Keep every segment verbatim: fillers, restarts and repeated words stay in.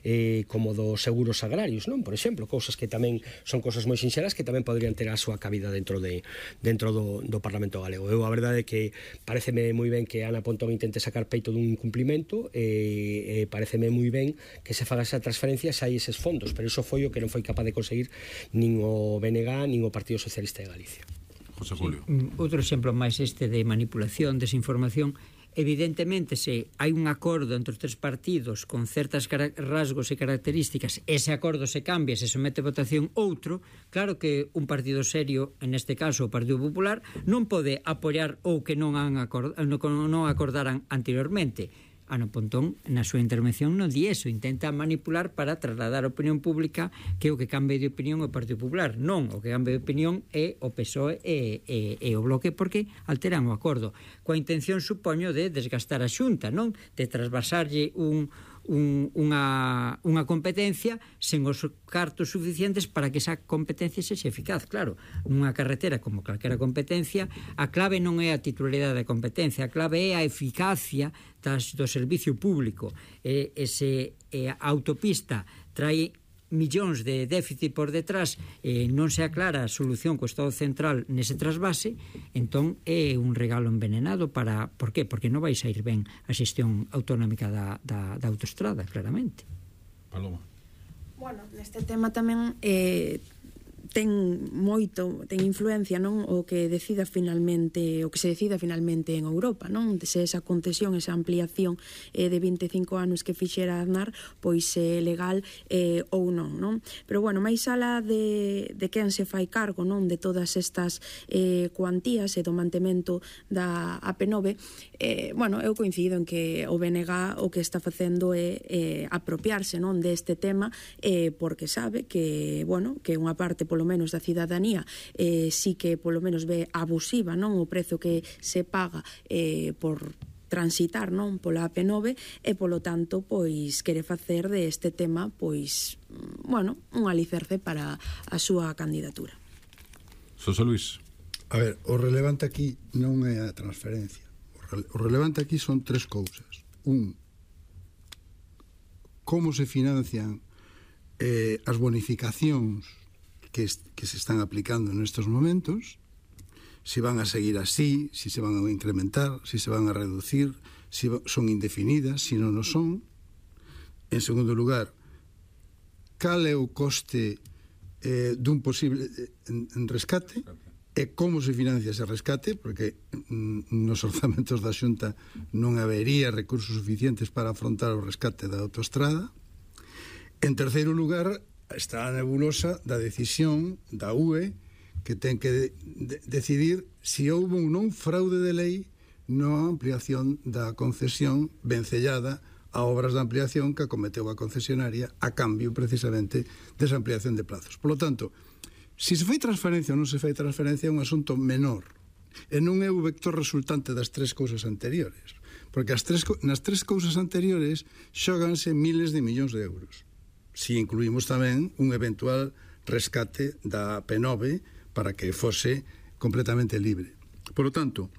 eh, como dos seguros agrarios, non? Por exemplo, cousas que tamén son cousas moi sinxelas que tamén poderían ter a súa cabida dentro de dentro do, do Parlamento galego. Eu a verdade é que pareceme moi ben que Ana Pontón intente sacar peito dun incumplimento e eh, pareceme moi ben que se faga esa transferencia se hai eses fondos, pero iso foi o que non foi capaz de conseguir nin o B N G nin o Partido Socialista de Galicia. José Julio. Sí, outro exemplo máis este de manipulación, desinformación. Evidentemente, se hai un acordo entre os tres partidos con certas rasgos e características, ese acordo se cambia, se somete a votación outro, claro que un partido serio, en este caso o Partido Popular, non pode apoiar ou que non, han acord, non acordaran anteriormente. Ana Pontón, na súa intervención, non di eso, intenta manipular para trasladar a opinión pública que o que cambie de opinión é o Partido Popular. Non, o que cambie de opinión é o P S O E e, e, e o Bloque, porque alteran o acordo. Coa intención, supoño, de desgastar a Xunta, non? De trasvasarlle un... Un, unha, unha competencia sen os cartos suficientes para que esa competencia sexa eficaz. Claro, nunha carretera como calquera competencia, a clave non é a titularidade da competencia, a clave é a eficacia das, do servicio público. E, ese, e a autopista trae millóns de déficit por detrás e non se aclara a solución co Estado central nese trasvase, entón é un regalo envenenado para... Por qué? Porque non vai sair ben a xestión autonómica da, da, da autoestrada, claramente. Paloma. Bueno, neste tema tamén eh, ten moito, ten influencia, non, o que decida finalmente, o que se decida finalmente en Europa, non? Se esa concesión, esa ampliación eh, de vinte e cinco anos que fixera Aznar, pois é eh, legal eh, ou non, non? Pero bueno, máis alá de, de quen se fai cargo, non, de todas estas eh, cuantías e do mantemento da A P nove, eh, bueno, eu coincido en que o B N G o que está facendo é eh, apropiarse, non, deste tema, eh, porque sabe que, bueno, que unha parte polo menos da cidadanía eh, sí que polo menos ve abusiva, non, o prezo que se paga eh, por transitar, non, pola A P nove, e polo tanto pois quere facer de este tema pois, bueno, un alicerce para a súa candidatura. Xosé Luís. A ver, o relevante aquí non é a transferencia. O, re, o relevante aquí son tres cousas. Un, como se financian eh, as bonificacións Que, que se están aplicando nestes momentos, si van a seguir así, si se van a incrementar, si se van a reducir, si son indefinidas, si non o son. En segundo lugar, cal é o coste eh, dun posible en, en rescate e como se financia ese rescate, porque mm, nos orzamentos da Xunta non habería recursos suficientes para afrontar o rescate da autoestrada. En terceiro lugar, está a nebulosa da decisión da U E que ten que de, de, decidir se si houve ou non fraude de lei na ampliación da concesión vencellada a obras de ampliación que acometeu a concesionaria a cambio precisamente desa ampliación de plazos. Por lo tanto, se se fai transferencia ou non se fai transferencia é un asunto menor e non é o vector resultante das tres cousas anteriores, porque as tres, nas tres cousas anteriores xóganse miles de millóns de euros, si incluímos tamén un eventual rescate da P nove para que fose completamente libre. Por lo tanto,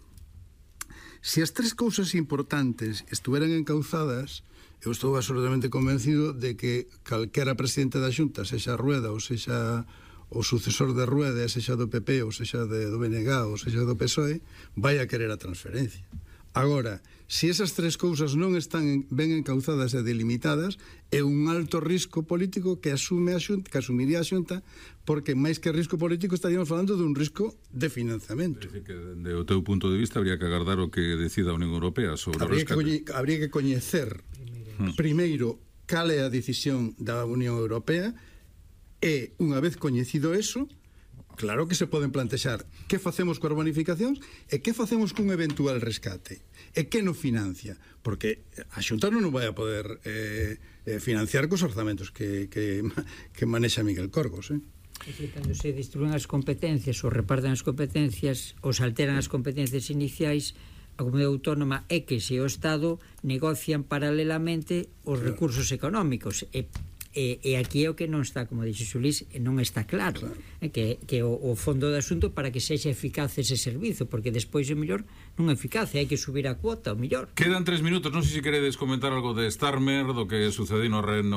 se as tres cousas importantes estuveran encauzadas, eu estou absolutamente convencido de que calquera presidente da Xunta, sexa Rueda ou sexa o sucesor de Rueda, sexa do P P ou sexa de, do B N G ou sexa do P S O E, vai a querer a transferencia. Agora, se esas tres cousas non están ben encauzadas e delimitadas, é un alto risco político que asume a Xunta, que asumiría a Xunta, porque máis que risco político estaríamos falando dun risco de financiamento. É dicir, que de o teu punto de vista habría que agardar o que decida a Unión Europea sobre habría o rescate. Que, habría que coñecer primeiro. primeiro cal é a decisión da Unión Europea e, unha vez coñecido eso, claro que se poden plantexar que facemos coas bonificacións e que facemos cun eventual rescate e que non financia, porque a Xunta non vai a poder eh, financiar cos orzamentos que, que, que manexa Miguel Corgos, eh? É que cando se distribuen as competencias ou reparten as competencias ou se alteran as competencias iniciais, a Comunidade Autónoma é que se o Estado negocian paralelamente os claro. recursos económicos e E, e aquí é o que non está, como dixo Xulís, non está claro, claro. É que, que o, o fondo do asunto para que sexa eficaz ese servizo, porque despois o mellor non é eficaz, hai que subir a cuota, o mellor. Quedan tres minutos, non sei se queredes comentar algo de Starmer, do que sucedeu no Reino